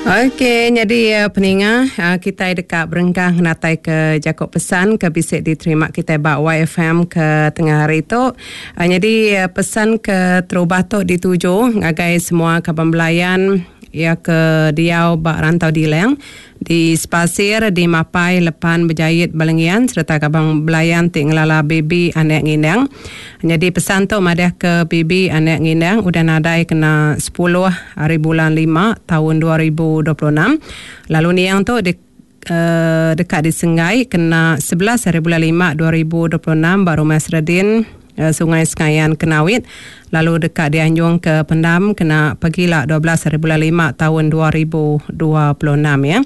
Ok nyadi peninga kitai deka berengkah ngenatai ke jaku pesan ke bisi diterima kitai ba YFM ke tengah hari tu. Nyadi pesan ke terubah tu dituju ngagai semua kaban belayan iya ke diau ba Rantau Dilang Di Sepasir, di Mapai, Lepan, Bejait, Balengian sereta Kabang Belayan ti ngelala Baby Anak Ngindang. Nyadi pesan tu madahka Baby Anak Ngindang udah nadai kena sepuluh hari bulan lima taun 2026 lalu niang tu di deka disenggai kena 11 hari bulan lima 2026 ba Rumah Seredin, Sungai Sengayan Kenawit lalu deka dianjung ke pendam kena pagila 12 hari bulan lima taun 2026 ya.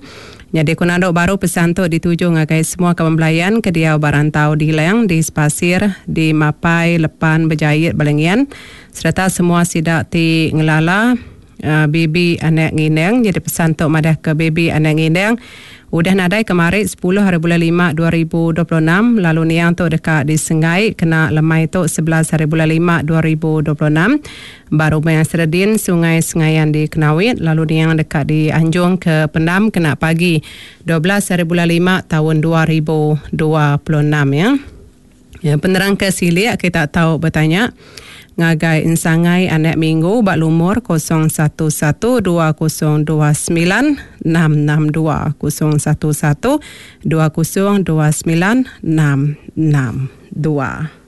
Nyadi ku nandu baru pesan tu dituju ngagai semua kaban belayan ke diau ba rantau Dilang di Sepasir, di Mapai, Lepan, Bejait, Balingian sereta semua sida ti ngelala Baby Anak Ngindang. Nyadi pesan tu madah ke Baby Anak Ngindang udah nadai kemari sepuluh hari bulan lima 2026 lalu niang tu deka disenggai kena lemai tu 11 hari bulan lima 2026 ba Rumah Seredin Sungai Sengayan di Kenawit lalu niang deka dianjung ke pendam kena pagi 12 hari bulan lima taun 2026 ya. Ya, penerang ke silik kita tau betanya ngagai Ensangai Anak Minggu ba lumur 011 2029 662 011 2029 662.